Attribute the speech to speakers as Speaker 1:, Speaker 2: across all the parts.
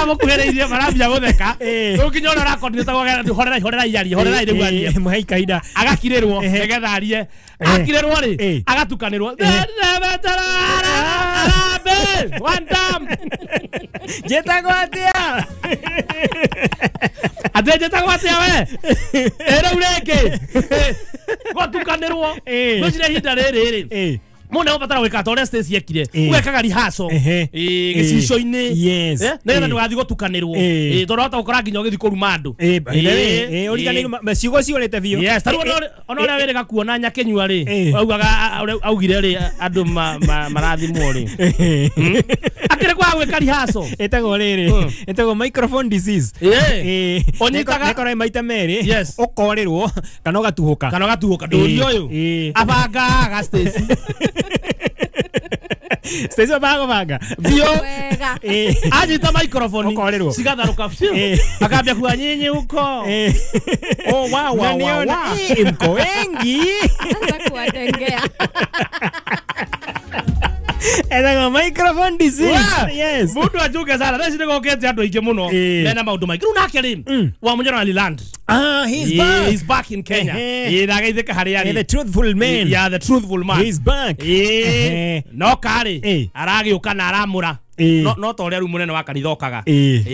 Speaker 1: Arĩa mũkuhĩrĩirie marambia gũtheka. Rĩu nginya ũrĩa ũrakoordinate gwake horerai horerai arie horerai rĩu arie.
Speaker 2: Mũhei kahinda.
Speaker 1: Agakirĩrwo nĩgetha arie. Akirĩrwo rĩ agatukanĩrwo. Harambee! One time.
Speaker 2: Njĩtagwo atĩa?
Speaker 1: Atĩ njĩtagwo atĩa we? Ĩ rĩu rĩngĩ. Gwatukanĩrwo. Ngwĩciria ihinda rĩrĩ rĩ. Mũndũ nĩegũbatara gwĩka ta ũrĩa Stacy ekire. Ũgekaga rehearsal. Gĩcicio-inĩ. Nĩgetha ndũgathiĩ gũtukanĩrwo. Tondũ wahota gũkora nginya ũgĩthiĩ kũruma andũ.
Speaker 2: Ũriganĩirwo ciugo ciũrĩte biũ.
Speaker 1: Yes, ta rĩu ona ũrĩa wĩrĩga kuona Nyakĩnyua rĩ, augaga augire rĩ andũ marathimwo rĩ. Akĩrĩ kwaga gwĩka rehearsal.
Speaker 2: Ĩtagwo rĩrĩ, ĩtagwo microphone disease.
Speaker 1: Ũnyitaga
Speaker 2: nĩkorwo maita merĩ, ũkorĩrwo kana ũgatuhũka.
Speaker 1: Kana ũgatuhũka. Ndũri ũyũ. Abangaga Stacy.
Speaker 2: Stacy abango banga.
Speaker 1: Biũ. Anyita microphone.
Speaker 2: Ũkorĩrwo.
Speaker 1: Cigatharũka biũ. Akambia kuga nyinyi huko. Oh wa wa wa wa.
Speaker 2: Mko wengi.
Speaker 3: Anza kuwatengea.
Speaker 2: Etagwo microphone disease. Yes.
Speaker 1: Mundu ajuke sana. Thaa ici nĩgũkĩte andũ aingĩ mũno. Mena maũndũ maingĩ. Rĩu nake rĩ, wa Munyoro ali land.
Speaker 2: Ah, he's back.
Speaker 1: He's back in Kenya. Ndagaithĩka harĩa arĩ.
Speaker 2: The truthful man.
Speaker 1: Yeah, the truthful man.
Speaker 2: He's back.
Speaker 1: No karĩ aragĩũka na aramũra. No ta ũrĩa rĩu mũnene wa kanitha okaga.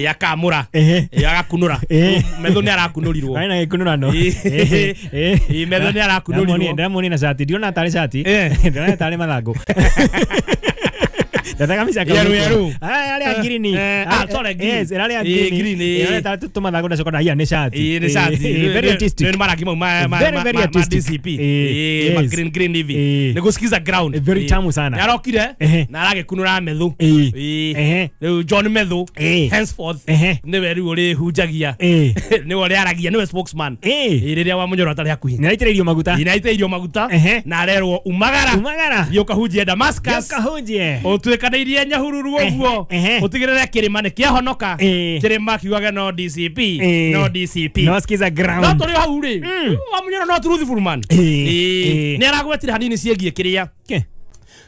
Speaker 1: Akamũra. Agakunũra. Metho nĩ arakunũrirwo.
Speaker 2: Arĩ na gĩkunũrano.
Speaker 1: Metho nĩ arakunũrirwo.
Speaker 2: Ndĩramuonire na cati. Ndĩrona tarĩ cati. Ndĩrona tarĩ mathangũ. Nataka mimi saka.
Speaker 1: Yeru yeru.
Speaker 2: Ah, yale green.
Speaker 1: Ah, sorry green.
Speaker 2: Yes, yale green. Yale tatu tumathago na sokona ni shati.
Speaker 1: Ni shati.
Speaker 2: Very artistic.
Speaker 1: Ni mara kimo ma ma ma DCP. Ma green green hivi. Ni kusikiza ground.
Speaker 2: Very tamu sana.
Speaker 1: Yarokire na aragikunura methu. Riu John Methu henceforth niwe riu uri hunjagia. Niwe uri aragia niwe spokesman. Riria wa Munyoro atari hakuhi.
Speaker 2: Ni aitĩrĩirio maguta.
Speaker 1: Ni aitĩrĩirio maguta na arerwo umagara.
Speaker 2: Umagara.
Speaker 1: Thiĩ ũkahunjie Damascus.
Speaker 2: Ũkahunjie.
Speaker 1: Ũtuĩkanĩirie Nyahururu ũguo. Ũtigĩrĩre kĩrĩma nĩ kĩahonoka. Kĩrĩma kiugage no DCP. No DCP.
Speaker 2: No skiza ground.
Speaker 1: No tũrĩ hau rĩ. Wa Munyoro no truthful man. Nĩ aragwetire hanini ciĩgiĩ kĩrĩa.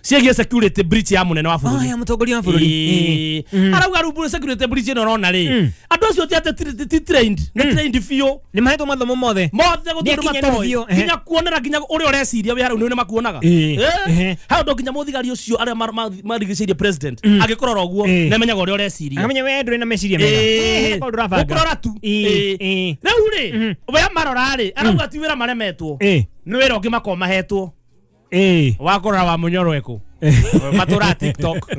Speaker 1: Ciĩgiĩ security breach ya mũnene wa bũrũri.
Speaker 2: Ya mũtongoria wa bũrũri.
Speaker 1: Arauga rĩu security breach ĩno ũrona rĩ. Andũ acio ti atĩ ti trained. Nĩ trained biũ.
Speaker 2: Nĩ mahetwo mathomo mothe.
Speaker 1: Mothe gũtirĩ matoĩ. Nginya kuonera nginya ũrĩa ũreciria wĩ hau nĩ makuonaga. Hau ndo nginya mũthigari ũcio arĩa marigicĩirie president agĩkũrora ũguo nĩ amenyaga ũrĩa ũreciria.
Speaker 2: Akamenya we ndũrĩ na meciria mega.
Speaker 1: Gũkũrora tu. Rĩu rĩ, we marora rĩ, arauga ti wĩra maremetwo. Nĩ wĩra ũngĩ makoragwo mahetwo. Wakora wa Munyoro eku matura TikTok.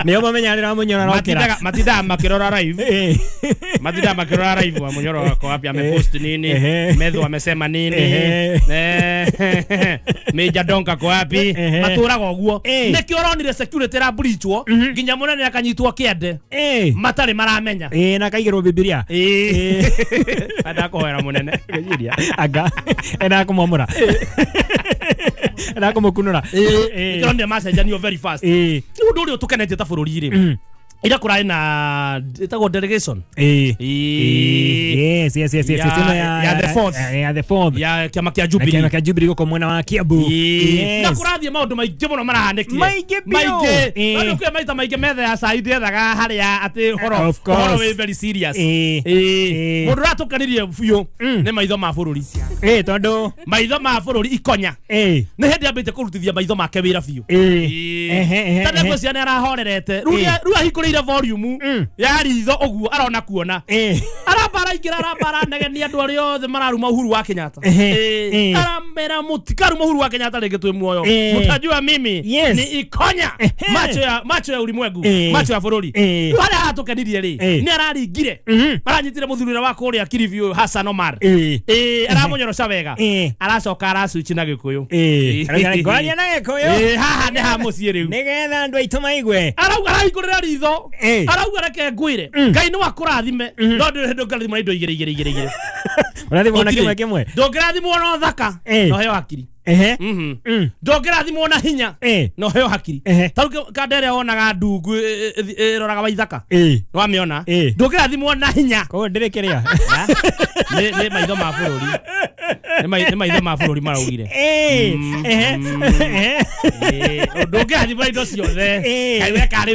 Speaker 2: Nĩo mamenya rĩrĩa Munyoro arokĩra.
Speaker 1: Matindaga makĩrora live. Matindaga makĩrora live wa Munyoro wako wapi amepost nini, Methu amesema nini, Major Donka ko wapi, matũraga ũguo. Nĩkĩo ũronire security ra breachwo nginya mũnene akanyitwo kĩande. Matarĩ maramenya.
Speaker 2: Na akaigĩrwo Bibilia.
Speaker 1: Endaga kũhoera mũnene.
Speaker 2: Anga endaga kũmwamũra. Endaga kũmũkunũra.
Speaker 1: Nĩkĩo macenjanio very fast. Nĩ ũndũ ũrĩa ũtũkenetie ta bũrũri rĩ. Ira kũrarĩ na ĩtagwo delegation.
Speaker 2: Yes, yes, yes, yes.
Speaker 1: Ya the fourth.
Speaker 2: Ya the fourth.
Speaker 1: Ya kĩama kĩa Jubilee.
Speaker 2: Kĩama kĩa Jubilee gũkũ mwena wa Kiambu.
Speaker 1: Na kũrathiĩ maũndũ maingĩ mũno marahanĩkire.
Speaker 2: Maingĩ biũ.
Speaker 1: Maingĩ. No nĩ maita maingĩ metha ya cai ndĩethaga harĩa atĩ ũhoro wĩ very serious. Mũndũ ũratũkenirie biũ nĩ maitho ma bũrũri.
Speaker 2: Tondũ
Speaker 1: maitho ma bũrũri ikonya. Nĩ hĩndĩ ambĩte kũrutithia maitho make wĩra biũ. Ta nĩngwĩciria nĩ arahorerete. Rĩu ahingũrĩire volume ya ritho ũguo arona kuona. Arambara ingĩra arambara negenia andũ arĩa othe mararuma Uhuru wa Kenyatta. Aramera mũtikaruma Uhuru wa Kenyatta rĩngĩ twĩ muoyo. Mũtajua mimi ni ikonya. Macho ya ulimwengu, macho ya bũrũri. Rĩu harĩa hatũkenirie rĩ, nĩ araringire. Aranyitire mũthuri ũrĩa wa kũrĩa Kilifi ũyũ Hassan Omar. Aramũnyorosha wega. Aracoka araswitch na Gĩkũyũ.
Speaker 2: Ngwaria na Gĩkũyũ.
Speaker 1: Haha nĩ ha mũciĩ rĩu.
Speaker 2: Nĩgetha andũ aitũ maigue.
Speaker 1: Arauga arahingũrĩra ritho. Arauga reke ngwĩre. Ngai nĩ wakũrathime. No ndũrĩ hĩndĩ ũngĩrathimwo na indo igĩrĩ igĩrĩ igĩrĩ igĩrĩ.
Speaker 2: Ũrathimwo na kĩmwe kĩmwe.
Speaker 1: Ndũngĩrathimwo na ũthaka no heo hakiri. Ndũngĩrathimwo na hinya no heo hakiri. Ta rĩu kanda ĩrĩa wonaga ndungu ĩroraga Waithaka. Nĩwamĩona? Ndũngĩrathimwo na hinya.
Speaker 2: Koguo ndĩrĩ kĩrĩa.
Speaker 1: Nĩ maitho ma bũrũri. Nĩ maitho ma bũrũri maraugire. Ndũngĩrathimwo na indo ciothe. Ngai weka